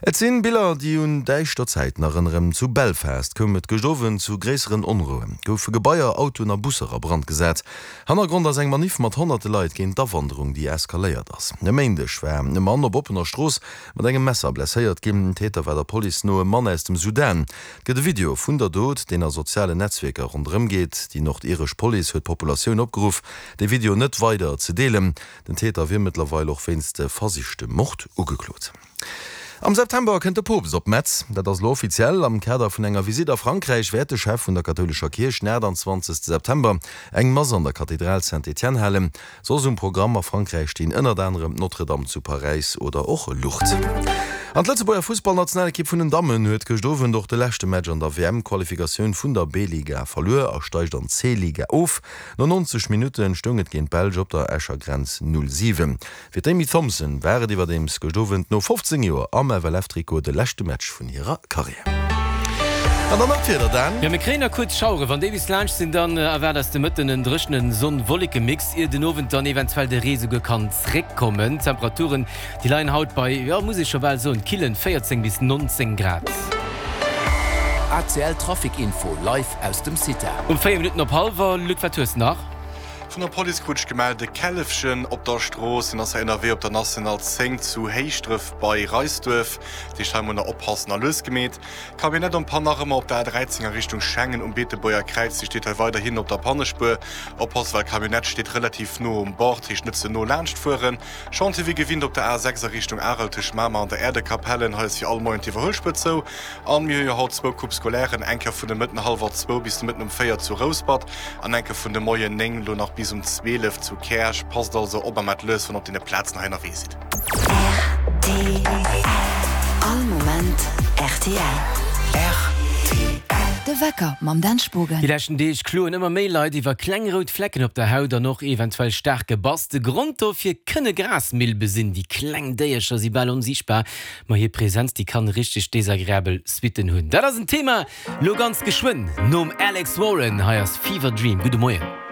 Et sinn Biller, déi un däischter Zäiten erënneren. Zu Belfast koum et gëscht Owend zu gréisseren Onrouen, goufe Gebaier, Autoen a Busser a Brand gesat. Hannergrond ass eng Maniff mat honnerte Leit géint d'Awanderung, déi eskaléiert ass. E Méindeg war e Mann op oppener Strooss mat engem Messer blesséiert ginn. Täter war der Police no e Mann aus dem Sudan. Et gëtt e Video vun der Dot, deen a sozialen Netzwierker ronderëm geet. Déi nordiresch Police huet d'Populatioun opgeruff, de Video net weider ze deelen. Den Täter wier mëttlerweil och wéinst versichtem Mord ugeklot. Am September kënnt de Poopst op Metz. Dat ass elo offiziell. Am Kader vun enger Visitt a Frankräich wäert de Chef vun der kathoulescher Kierch den 28 September eng Mass an der Kathedral Saint-Étienne halen. Soss um Programm a Frankräich stinn ënnert anerem d'Notre-Dame zu Paräis oder och Lourdes. An d'Lëtzebuerger Fussballnationalekipp vun den Dammen huet gëscht Owend och de leschte Match an der WM-Qualifikatioun vun der B-Liga verluer a steigt an d'C-Liga of. No 90 Minutte stoung et géint d'Belsch op der Escher Grenz 0, 7. Fir d'Amy Thompson war et iwwerdeems gëscht Owend no 15 Joer am FLF-Trikot de leschte Match vun hirer Karriär. An dann nach d'Wieder, Dan. Jo, mir kréien nach kuerz Schaueren. Wann déi bis laanscht sinn, dann erwaart eis de Mëtten en dréchene Sonn-Wolleke-Mix, ier den Owend dann eventuell de Ree souguer kann zréckkommen. D'Temperaturen, déi leien haut bei, jo, muss ee scho bal soen, killen 14 bis 19 Grad. ACL Trafic Info live aus dem CITA. Um 4 Minutten op hallwer, Luc, wat hues de nach? Vun der Police krut ech gemellt, e Källefchen op der Strooss. En ass hei ënnerwee op der National 10 zu Héischdref bei Reisduerf. Dat heescht hei mol nach oppassen a lues gemeet. Camionnette en panne nach ëmmer op der A13 a Richtung Schengen um Beetebuerger Kräiz. Déi steet hei weiderhin op der Pannespuer. Oppassen, well Camionnette steet relativ no um Bord, heescht net ze no laanscht fueren. Chantier wéi gewinnt op der A6 a Richtung Arel tëscht Mamer an der Äerdekapellen. Hei ass fir all Moien d'Iwwerhuelspuer zou. An mir hu jo haut zwou Coupes scolairen, eng Kéier vun de Mëtten hallwer zwou bis de Mëtten um 4 zu Rouspert an eng Kéier vun de Moien 9 lo nach bis um 12 zu Käerch. Passt also op a maacht lues, wann der op deene Plazen hei ënnerwee sidd. Rtl. All Moment rtl. Rtl. De Wecker mam Dan Spogen. Déi leschten Deeg kloen ëmmer méi Leit iwwer kleng rout Flecken op der Haut an och eventuell staarke Bass. De Grond dofir kënne Grasmilbe sinn. Déi kleng Déiercher si bal onsiichtbar, Ma hir Präsenz, déi kann richteg desagreabel Suitten hunn. Dat ass en Thema lo ganz geschwënn nom Alex Warren. Hei ass Fever Dream. Gudde Moien.